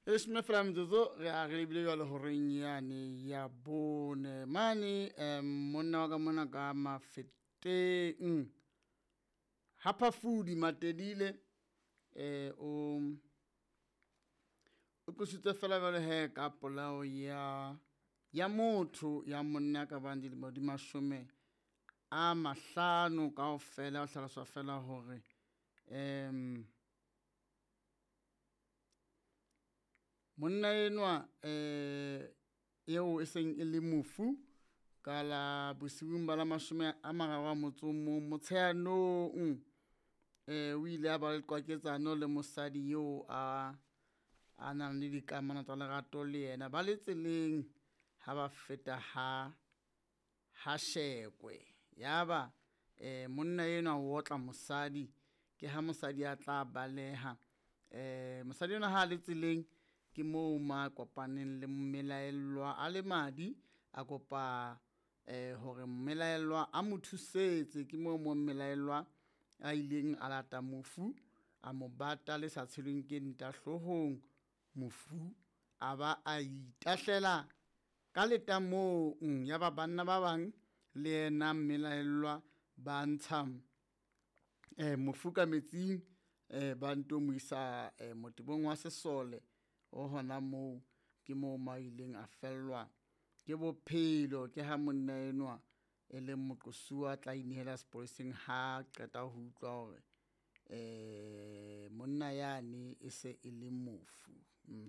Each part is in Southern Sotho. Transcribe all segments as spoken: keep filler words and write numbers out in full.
Leshome fela metsotso re a re lebile jwale horeng yane ya bone mane um monna wa ka mona ka Mafeteng ha Phafudi Matelile eh o o qositswe fela jwale he ka polao ya ya motho ya monna ka bang dilemo di mashome a mahlano kaofela. O hlaloswa fela hore um monna enwa eh eo e seng e le mofu ka la bosiung ba la mashome a mararo a motso o mong Motsheanong, eh o ile a ba le qwaketsano le mosadi eo a a nang le dikamano tsa lerato le yena ba le tseleng ha ba feta ha ha Shekwe. Yaba eh monna enwa o otla mosadi, ke ha mosadi a tla baleha. Eh mosadi enwa ha le tseleng ke moo ma kopaneng le mmelaellwa a le madi, a kopa eh hore mmelaellwa a mo thusetse. Ke moo mo mmelaellwa a ileng a lata mofu a mo bata le sa tshelweng ke nta hloohong, mofu a ba a itahlela ka letamong. Ya ba banna ba bang le yena mmelaellwa ba ntsha eh mofu ka metsing eh ba nto mo isa eh motebong wa sesole o hona moo. Ke moo mo a ileng a fellwa ke bophelo. Ke ha monna enwa e leng moqosuwa a tla inehela sepoleseng ha qeta ho utlwa hore eh monna yane e se e le mofu.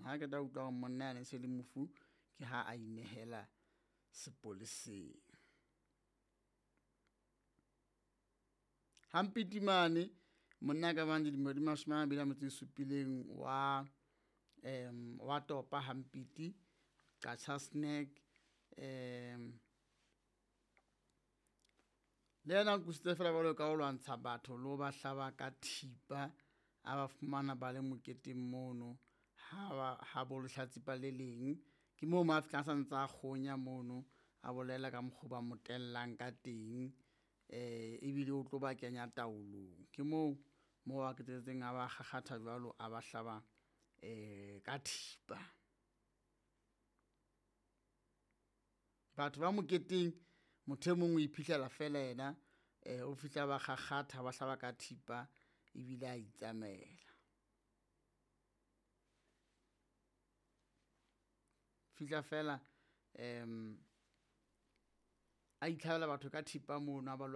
Ha qeta ho utlwa hore monna yane e se le mofu, ke ha a inehela sepoleseng. Hampiti mane monna ka bang dilemo di mashome a mabedi a metso e supileng wa um wa topa Hampiti Qacha's Nek um le yena o qositswe fela jwalo ka ho lwantsha batho le ho ba hlaba ka thipa. A ba fumana ba le moketeng mono ha ba ha bo lehlatsipa le leng, ke moo mo a fihlang a sa ntsa kgonya mono, a bolela ka mokgo ba mo tellang ka teng eh ebile o tlo ba kenya taolong. Ke moo mo a qetelletseng a ba kgakgatha jwalo, a ba hlaba eh ka thipa. Batho ba moketeng motho e mong o iphihlela fela yena eh o fihla ba kgakgatha ba hlaba ka thipa ebile a itsamaela. Fihla fela um a itlhabela batho ka thipa mono a ba